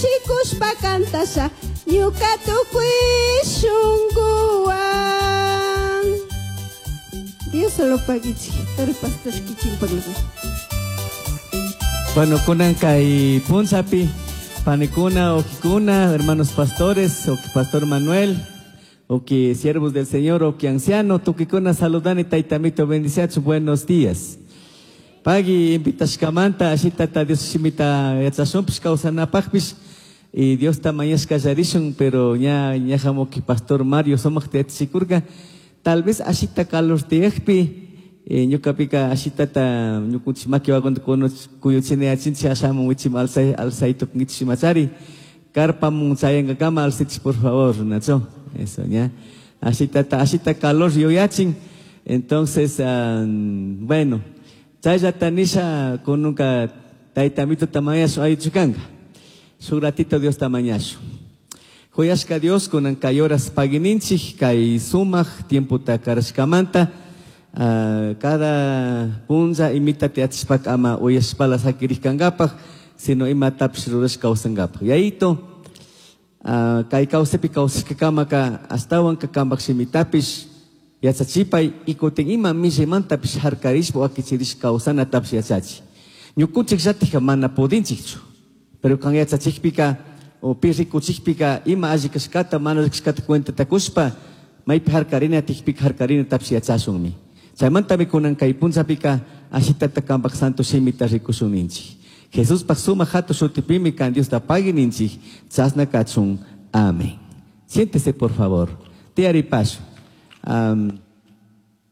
Cushicushpa cantasha ñuca tucui shunguhuan. Dios solo paguichik, toro pastor kikinpaglapi. Bueno, kunan kay punchapi, panikuna, wawkikuna, hermanos pastores, wawki pastor Manuel, wawki siervos del Señor, wawki anciano, tukikuna saludani taytamito bendiciachu, buenos días. Pagui invitashkamanta ashitata Dios shimita yachashunpish kawsanapakpish y Diosta mañashka kallarishun, pero ña ñaja wawki pastor Mario sumakta yachachikurka, tal vez ashita calor tiyakpi ñukapika ashitata ñukunchik makiwakunata kuyuchinayachinchik ashamun wichim alzay alzay tukunkichik imachari carpamun chayankakama alzaychik por favor, nacho? Eso, ña. Ashitata ashita calor yuyachin. Entonces, bueno, chayllata nisha kununka taytamituta mañashun ayuchukanka. Shuk ratito Diosta mañashun. Juyashka Dios kunan kay horas paguininchik kay sumak tiempota karashkamanta cada punlla imita yachashpaka ama uyashpala saquirishkankapak, sino imatapish rurashka kawsankapak. Yayito, kay kawsaypi kawsashkakamaka ashtawanka kampak shimitapish yachachipay y kutin ima millaymantapish harkarishpa wakichirishka kawsanatapish yachachi. Ñukunchik llatikka mana pudinchikchu, pero kan yachachikpika o pi rikuchikpika ima alli kashkata mana alli kashkata cuentata kushpa maypi harkarina tikpika harkarinatapish yachashunmi. Chaymantami kunan kay punllapika ashitata kampak santo shimita rikushun ninchik. Jesuspak sumak hatun shutipimi kan Diosta pagui ninchik, chashna kachun. Amén. Siéntese por favor. Tiyaripashun.